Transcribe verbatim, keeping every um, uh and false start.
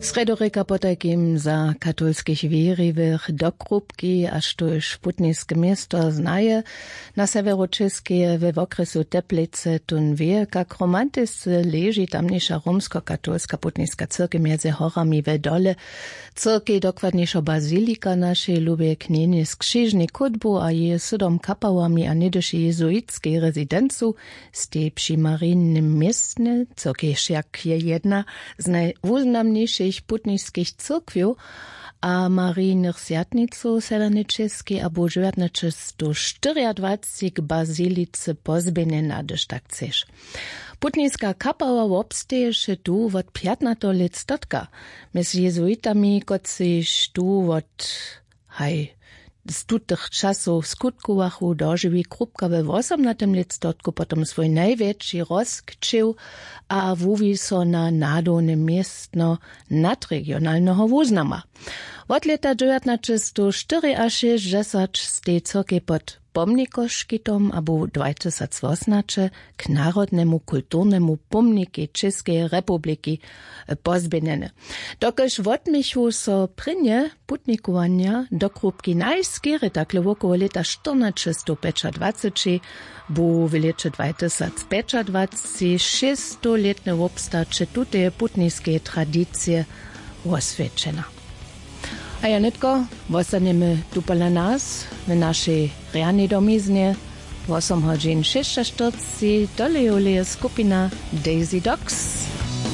Srjedorěka potajkim za katolskich wěriwych do krupki a štóž putniske město znaje, na sewjeru čěskeje we wokrjesu teplice tón wě kak romantisce leži tamniša romskokatolska putniska cyrkej mjezy horami we dole. Cyrkej dokładnišo bazilika našej lubje knjenje z křižnej kódbu a jeje sydom kapałami a něhdyši jezuitskej rezidencu, stej při marijnym městnje, cyrkej wšak je jedna z najwuznamnišich putniskich cyrkwjow a marijnych swjatnicow w sewjernej čěskej abo dźewjatnaćestow štyriadwacci k bazilice pozběhnjena hdyž tak chceš. Putniska kapała wobsteješe tu wot pjatnateho lětstotka, mjez jezuitami kotřiž tu wot haj z tutych časow skutkowachu, dožiwi krupka we wosomnatym lětstotku potom swój najwjetši rozkćěw a wuwi so na nadowne městno nadregionalneho wuznama. Wot lěta dźewjatnaćestow štyriašěsćdźesat stej cyrkej pod pomnikoškitom abo dwajtysacwosomnaće k narodnemu kulturnemu pomnikej čěskeje republiki pozběhnjene. Dokelž wotměchu so prěnje putnikowanja do krupki najskerje takle wokoło lěta štyrnaćestowpjećadwaceći, bu w lěće dwajtysacpjećadwaceći šěsćstowlětne wobstaće tuteje putniskeje tradicije woswjećena. A ja nětko wostanjemy tu pola nas w našej rjanej domiznje. Wosom hodźin šěsćaštyrceći tolejoleje skupina Daisy Dogs.